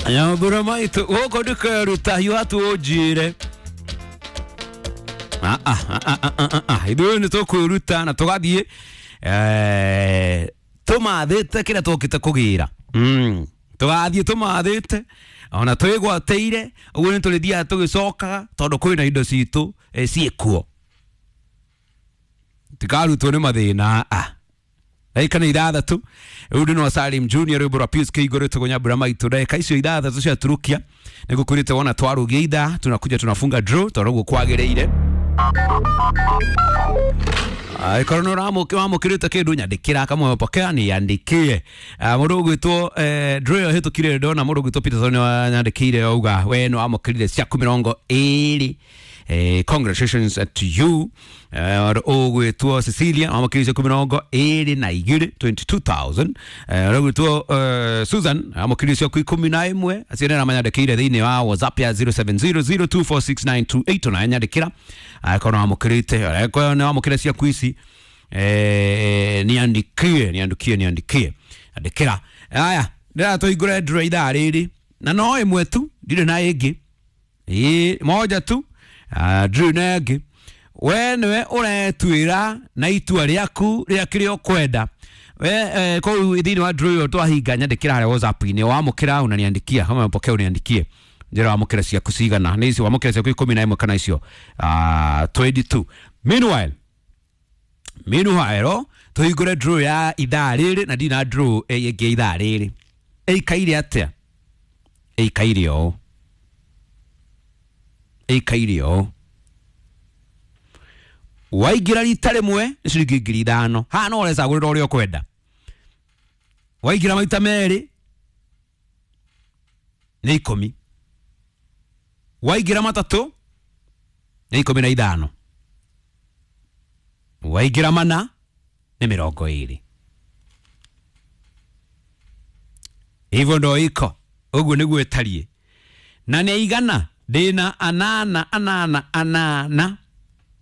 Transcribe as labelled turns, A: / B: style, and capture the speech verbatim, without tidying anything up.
A: Nyambura maitu gũkũ ndikeruta hiũha tu ũnjĩre. Ah, ah, ah, ah, ah, ah. Ithuĩ nĩ tũkwĩruta na tũgathiĩ eh, tũmathĩte kĩrĩa tũkĩte kũgĩra. Mm. Tũgathiĩ tũmathĩte ona twĩgwatĩire ũguo nĩ tũrĩthiaga tũgĩcokaga tondũ kwĩna indo citũ eh, ciĩkuo tikarutwo nĩ mathĩna. Ah, ndagĩka nĩ ithathatũ rĩu ndĩ Salim Junior rwĩmbo rwa Pius Kĩigũ rwĩtagwo Nyambura Maitũ. Ndagĩka icio ithathatũ ciaturukia nĩ gũkwĩrĩte wona twarũgia ithaa tunakuja tunafunga draw tondũ ũguo kwagĩrĩire. Angĩkorwo nĩ ũramũkĩrĩte kĩndũ nyandĩkĩra kama umepokea niandikie. Mũndũ ũgwĩtwo draw ĩyo ĩhĩtũkire ndona mũndũ ũgwĩtwo Peterson nĩwanyandĩkĩire auga we nĩ wamũkĩrire ciaku mĩrongo ĩrĩ. Eh, congratulations to you. Ũgwĩtwo Cecilia wamũkĩrire ciaku mĩrongo ĩrĩ na igĩrĩ twenty two thousand. Ũgwĩtwo Susan wamũkĩrire ciaku ikũmi na ĩmwe. Acio nĩ arĩa thĩinĩ wa WhatsApp ya zero seven zero zero two four six nine two eight ona nyandĩkĩra angĩkorwo nĩ wamũkĩrĩte angĩkorwo nĩ wamũkĩrire ciaku ici eh, niandikie niandikie niandikie andĩkĩra. Aya ndĩratũhingũre draw ithaa rĩrĩ na no ĩmwe tu ndirĩ na ĩngĩ ĩ moja tu. Uh, draw na ĩngĩ we nĩwe ũretuĩra na itua rĩaku rĩa kĩrĩa ũkwenda we eh, kũu thĩinĩ wa draw ĩyo twahinga nyandĩkĩra harĩa WhatsApp-inĩ wamũkĩra unaniandikia kama umepokea uniandikie njĩra wamũkĩra ciaku cigana nĩ icio wamũkĩra ciaku ikũmi na ĩmwe kana icio uh, twenty two. Meanwhile meanwhile tũhingũre draw ya ithaa rĩrĩ na ndina draw ĩngĩ ithaa rĩrĩ ĩikaire atĩa ĩikaire ũũ ĩikaire ũũ waingĩra rita rĩmwe nĩ ciringi ngiri ithano haha no ũrecagũrĩra ũrĩa ũkwenda waingĩra maita merĩ nĩ ikũmi waingĩra matatũ nĩ ikũmi na ithano waingĩra mana nĩ mĩrongo ĩrĩ. Hivyo ndo iko ũguo nĩguo ĩtariĩ na nĩ igana ndĩna anana anana anana